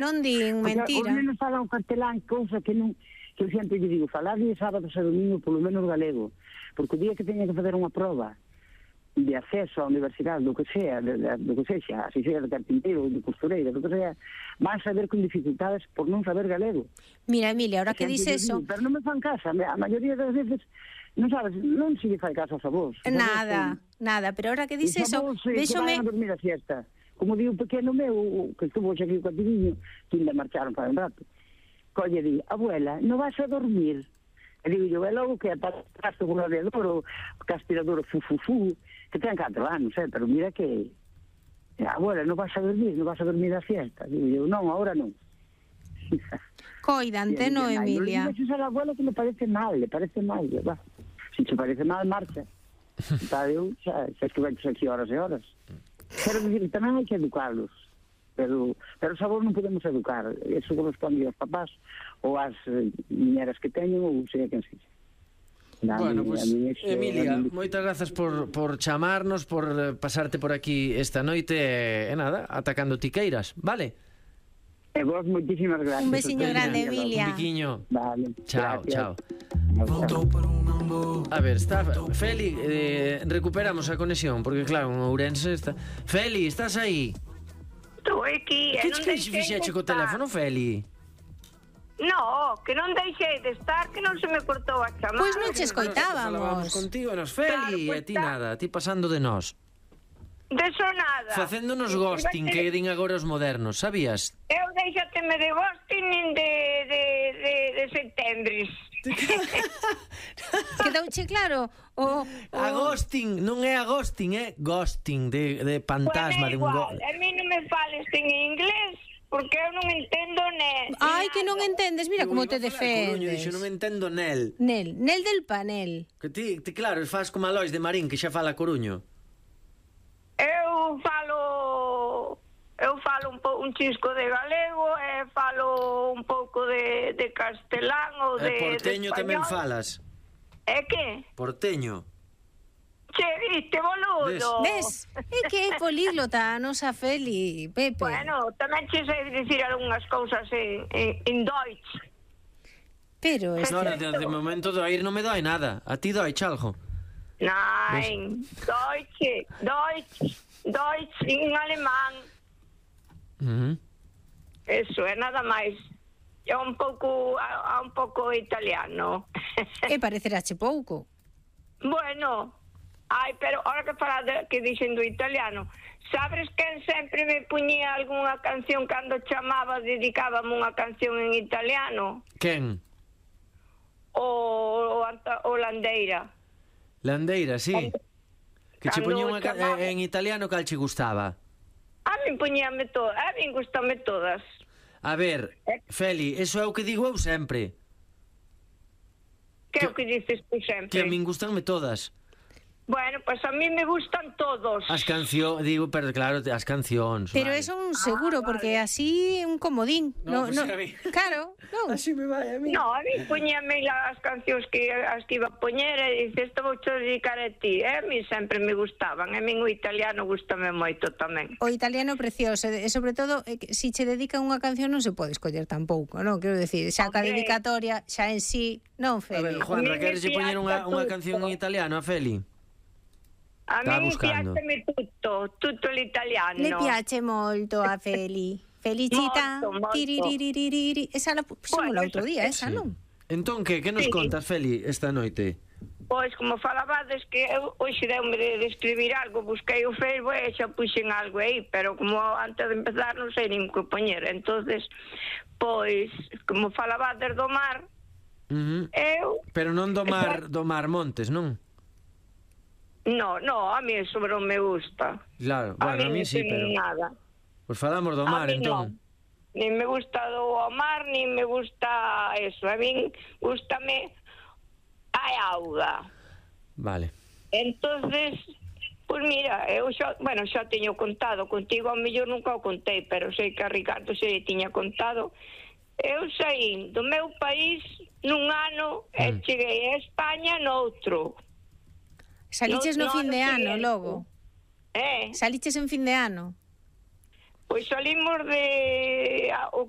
Non din mentira. Os nenos falan castelán, cousa que non... Que eu sempre lle digo, falar de sábados e domingo polo menos galego, porque o día que teña que fazer unha prova de acceso á universidade, do que sea, do que sexa, así sea de carpinteiro, de costureira, do que sea, van saber con dificultades por non saber galego. Mira, Emilia, ahora que dices eso... Pero non me fan casa, a maioría das veces, non sabes, non se lle fai caso aos avós. Nada, pero ahora que dices eso, véxome... Que van a dormir a siesta. Como di un pequeno meu, que estuvo aquí co ativiño, que ainda marcharon para un rato, colle di, abuela, non vas a dormir? E digo yo, é logo que pasaste con o radiador, o aspirador, fu, que ten 4 anos, pero mira que, abuela, non vas a dormir a fiesta? Digo yo, non, ahora non. Coidante, no, Emilia? Non dices a la abuela que le parece mal, va. Si te parece mal, marcha. Eu, xa es que venches aquí horas e horas. Quero dicir, tamén hai que educarlos. Pero os avós non podemos educar, eso corresponde aos papás ou ás niñeras que teñen ou sei a quen sexa. Bueno, pues, Emilia, moitas grazas por chamarnos, por pasarte por aquí esta noite e nada, atacando tiqueiras, vale? E vos moitísimas gracias. Un besiño grande, Emilia. Un biquiño. Vale. Chao. A ver, está Feli, recuperamos a conexión, porque claro, en Ourense está... Feli, estás aí? Estou aquí. Que fixeche co teléfono, Feli? No, que non deixei de estar, que non se me cortou a chamada. Pois non che escoitábamos. Falábamos contigo, nos Feli, e ti nada, ti pasando de nós. De sonada. Facéndonos ghosting, que din agora os modernos, sabías? Eu deixateme de ghosting nin de setembres. Quedouche claro? Agosting, non é agosting, é ghosting, de fantasma, de un igual, a mí non me fales en inglés, porque eu non entendo nel. Ai, que non entendes, mira como te defendes. Dixo, non entendo nel. Nel del panel. Que ti claro, faz como a Lois de Marín, que xa fala coruño. Eu falo un chisco de galego e falo un pouco de castelán ou de porteño de tamén falas. É que? Porteño. Che, viste, boludo. Ves? É que é políglota, a nosa Feli, Pepe. Bueno, tamén che sei dicir algunhas cousas en Deutsch. Pero... No, de momento do ir non me doi nada. A ti doi chalgo. Nein, Deutsch en alemán. Eso, é nada máis. É un pouco italiano. E parecerache pouco. Bueno, pero ahora que falas que dixen do italiano, sabes quen sempre me puñía algunha canción cando chamaba, dedicábame unha canción en italiano? Quen? O Landeira. Landeira, sí. Que che puñía unha en italiano, cal che gustaba? A min puñíame todas, a min gustame todas. A ver, Feli, eso é o que digo eu sempre. Que é o que dices tú sempre? Que a min gustanme todas. Bueno, pues a mí me gustan todos. As cancións, digo, pero claro, as cancións. Pero vale. eso un seguro, porque así un comodín. No, pues a mí. Claro, non. Así me vai a mí. No, a mí poñíame as cancións que as que iba a poñer e dices, isto vou te dedicar a ti. A mí sempre me gustaban. A min o italiano gustame moito tamén. O italiano precioso, e sobre todo, si che dedican unha canción non se pode escoller tampouco, non? Quero decir, xa ca dedicatoria, xa en sí, non, Feli. A ver, Juanra, queres poñer unha canción en italiano a Feli? A mí piaceme tutto l'italiano. Le piace molto a Feli. Felicita. Molto. Esa la puxemos o outro día, esa, non? Entón, que nos contas, Feli, esta noite? Pois, como falabades que eu hoxe deume de escribir algo, busquei o Facebook e xa puxen algo aí, pero como antes de empezar non sei nin que poñer. Entonces, pois, como falabades do mar, eu... Pero non do mar Montes, non? No, a mí eso non me gusta. Claro, bueno, a mí sí, pero... Nada. Pois falamos do mar, entón. No. Nin me gusta do mar, nin me gusta eso. A mí gustame a auga. Vale. Entonces, pois mira, eu xa teño contado contigo, ao mellor nunca o contei, pero sei que a Ricardo se tiña contado. Eu saí do meu país nun ano e cheguei a España noutro. Saliches no fin de ano, logo. Eh? Saliches en fin de ano. Pois salimos de o